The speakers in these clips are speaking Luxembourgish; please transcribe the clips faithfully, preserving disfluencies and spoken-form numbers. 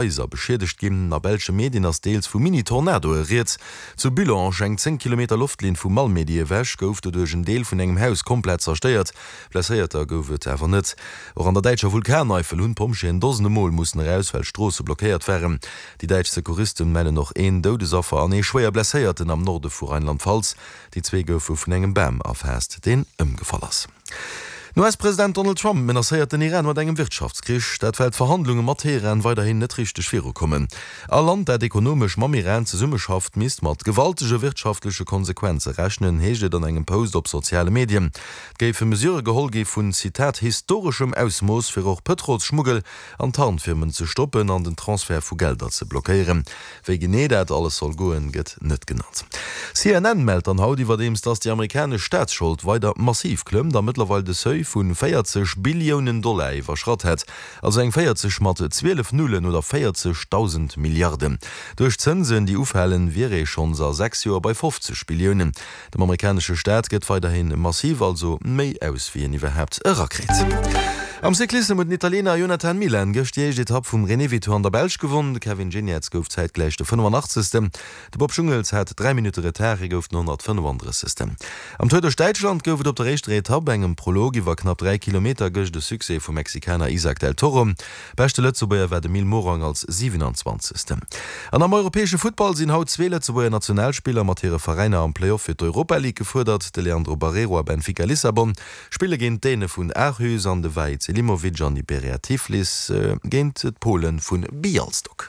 Haiser beschiedegt ginn. A belsche Medien ass deels vu Mini-Tornadoe rieds. Zu Bullange, eng zéng Kilometer Loftlinn vu Malmedy ewech, gouf doduerch en Deel vun engem Haus komplett zerstéiert. Blesséierter gouf et awer net. Och an der däitscher Vulkaneifel hunn d'Pompjeeën dosende Mol mussen eraus, well Stroosse blockéiert waren. Déi däitsch Secouristen mellen och een Doudesaffer an ee schwéier Blesséierten am Norde vu Rheinland-Pfalz. Déi zwee goufe vun engem Bam erfaasst, deen ëmgefall ass. Den U S-President Donald Trump menacéiert den Iran mat engem Wirtschaftskrich, dat well d'Verhandlunge mat Teheran weiderhin net richteg virukommen. All Land, dat ekonomesch mam Iran zesummeschafft, misst mat gewaltege wirtschaftleche Konsequenze rechnen, heescht et an engem Post op soziale Medien. Et géife Mesurë geholl gi vun, Zitat, historeschem Ausmooss, fir och Pëtrolsschmuggel an Tarnfirmen ze stoppen an den Transfert vu Gelder ze blockéieren. Wéi genee dat alles soll goen, gëtt net genannt. C N N mellt dann haut iwwerdeems, dass déi amerikanesch Staatsschold weider massiv klëmmt a mëttlerweil de Seuil vu véierzeg Billiounen Dollar iwwerschratt hätt, also eng véierzeg mat zwielef Nullen oder véierzegdausend Milliarden. Duerch d'Zënsen, déi ufalen, wier ee schonns a sechs Joer bei fofzeg Billiounen. Dem amerikanesche Staat gëtt weiderhi massiv, also méi aus wéi en iwwerhaapt erakritt. Am Cyclissem huet den Italiener Jonathan Milan gëscht déi éischt Etapp vum Renewi-Tour an der Belsch gewonn. De Kevin Geniets gouf zäitgläich de fënnefanachtzegsten. De Bob Jungels hat dräi Minutte Retard, hie gouf den honnertfënnefandrëssegsten. Am Tour duerch Däitschland gouf et op der éischter Etapp, engem Prolog iwwer knapp dräi Kilometer, gëscht e Succès vum Mexikaner Isaac del Toro. Beschte Lëtzebuerger war de Mil Morang als siwenanzwanzegsten. An am europäesche Futtball sinn haut zwee Lëtzebuerger Nationalspiller mat hire Veräiner am Playoff fir d'Europa League gefuerdert. De Leandro Barreiro a Benfica Lissabon spille géint d'Däne vun Aarhus an de Vahid Selimovic an Iberia Tiflis géint d'Pole vu Bialystok.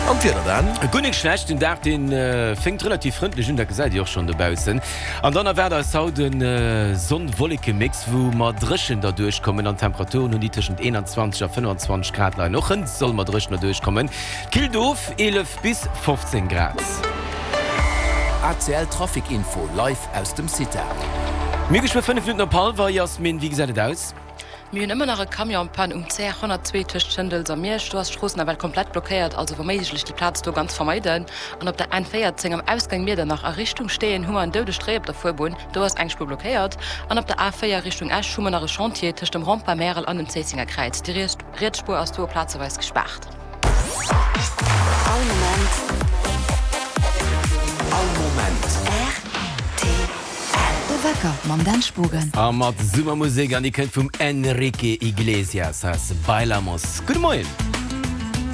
An d'Wieder dann? Guer nik schlecht, den Dag deen fänkt relativ frëndlech un, dat gesäit Dir och schonn dobaussen. An dann erwaart eis haut e Sonn-Wolleke-Mix, wou mer dréchen derduerch kommen an Temperaturen hunn, déi tëschent eenanzwanzeg a fënnfanzwanzeg Grad leien. Och hënt solle mer dréchen derduerch kommen, killt of, eelef bis fofzéng Grad. A C L Trafic Info live aus dem CITA. Mir geschwë fënnef Minutten op hallwer. Jasmin, wéi gesäit et aus? Mir hunn ëmmer nach e Camion en panne um C R honnertzwee tëscht Schëndels a Miersch. Do ass d'Strooss nawell komplett blockéiert, also wa méiglech déi Plaz do ganz vermeiden. An op der N véierzéng am Ausgang Miedernach a Richtung Steeën hu mer en doudegt Réi op der Fuerbunn, do ass eng Spuer blockéiert. An op der A véier Richtung Esch hu mer nach e Chantier tëscht dem Rond-point Märel an dem Zéissenger Kräiz. Déi riets Spuer ass do plazeweis gespaart. All Moment. All Moment. R T L. De Wecker mam Dan Spogen. A mat Summermusek, an déi kënnt vum Enrique Iglesias, heißt Bailamos. Gudde Moien.